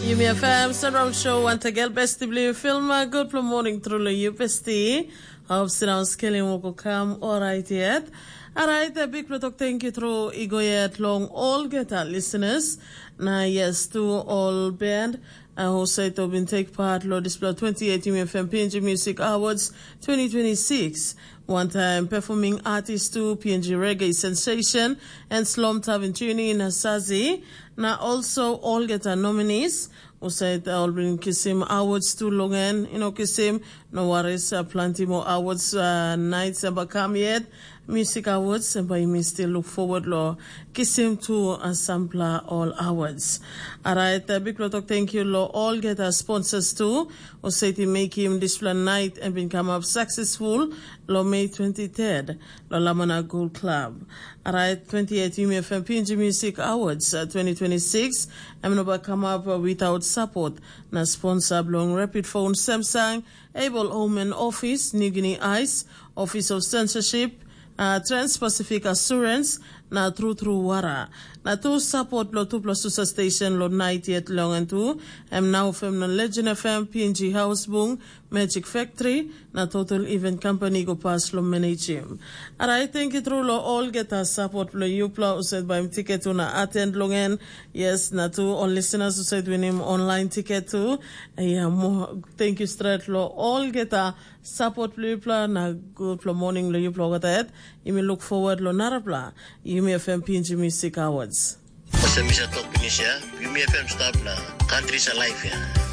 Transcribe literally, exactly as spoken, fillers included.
Yumi F M Surround Show once again, besti bilong yu film, uh, good for morning truly you besti. Hope sinau skelim woko kam alright yet. Alright, a big plot thank you through igo yet long all get our listeners. Na yes, to all band, uh, who said to been take part lo dispela twenty-eight Yumi F M P N G Music Awards twenty twenty-six. One time performing artist to P N G Reggae Sensation and Slom Tavin Tuni na Sazi. Na also all get our nominees. Usait ol bin kisim awards tu long en, you know, kisim, no worries, uh, plenty more awards, uh, nights and bakam yet. Music awards, and by me still look forward lo kisim to, uh, sampler all awards. Alright, uh, big lot of thank you lo all get our sponsors too. Usait make him this night and been come up successful lo May twenty-third, lo Lamana Gold Club. Alright, twenty-eight Yumi F M P N G Music Awards, uh, twenty twenty-six. Em no ba come up, uh, without support. Na sponsor belong Rapid Phone Samsung, Able Home and Office, New Guinea Ice, Office of Censorship, uh, Trans-Pacific Assurance, na True True Wara. Na tu support lo tupla susa station lo night yet long and tu. Em now fem na Legend F M, P N G House Bung, Magic Factory, na Total Event Company go pas lo manage him. Alright, thank you through lo all get a support lo yupla usaid by ticket to na attend long en. Yes, na to all listeners usaid win him online ticket too. Yeah, mo, thank you straight lo all get a support lo yupla na good lo morning lo yupla got that. Yumi look forward lo narapla. Yumi F M P N G Music Awards. Ose misa tok pinis ya, Yumi F M stap na country sa life ya.